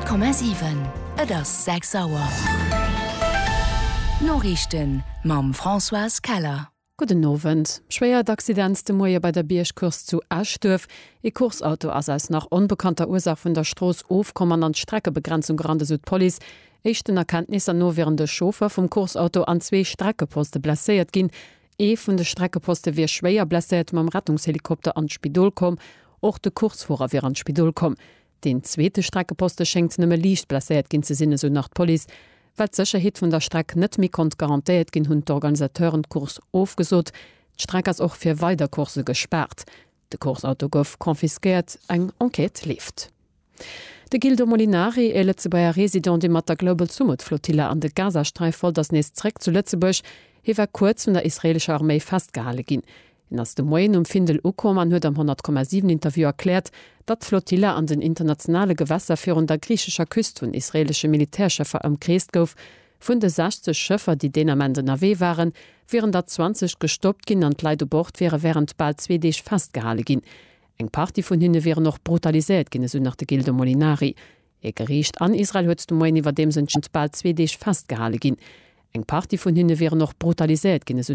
100,7 Et ass 6 Auer. D'Noriichten mam Françoise Keller. Gudden Owend. Schwéiert Accident de Moie bei der Biergcourse zu Eschduerf. Ee Course-Auto ass aus nach onbekannter Ursaach vun der Strooss ofkomm an an d'Streckebegrenzung gerannt, esou d'Police. Éischten Erkenntnisser no wieren de Chauffeur vum Course-Auto an zwee Streckeposte blesséiert ginn. Ee vun de Streckeposte wier schwéier blesséiert mam Rettungshelikopter an d'Spidol komm. Och de Coursefuerer wier an d'Spidol komm. Deen zweete Streckeposte schéngt nëmme liicht blesséiert ginn ze sinn, esou nach d'Police. Well d'Sécherheet vun der Streck net méi konnt garantéiert ginn, hunn d'Organisateuren d'Course ofgesot. D'Streck ass och fir weider Coursse gespaart. De Courseauto gouf confisquéiert, eng Enquête leeft. De Gildo Molinari, e Lëtzebuerger Resident, dee mat der Global Sumud Flotilla an de Gazasträif wollt, ass nees zréck zu Lëtzebuerg. Hie war kuerz vun der israeelescher Arméi festgehale ginn. Hien ass de Moien um Findel ukomm an huet am 100,7 Interview erkläert, datt d'Flotilla an den internationale Gewässer virun der griichescher Küst vun israeelesche Militärschëffer ëmkreest gouf. Vun de 60 Schëffer, déi deen Ament ënnerwee waren, wieren der 20 gestoppt ginn an d'Leit u Bord wiere wärend bal zwee Deeg festgehale ginn. Eng Partie vun hinne wieren och brutaliséiert ginn, esou nach de Gildo Molinari. E Geriicht an Israel huet de Moien iwwerdeems entscheet, bal zwee Deeg festgehale ginn. Eng Partie vun hinne wieren och brutaliséiert ginn, esou.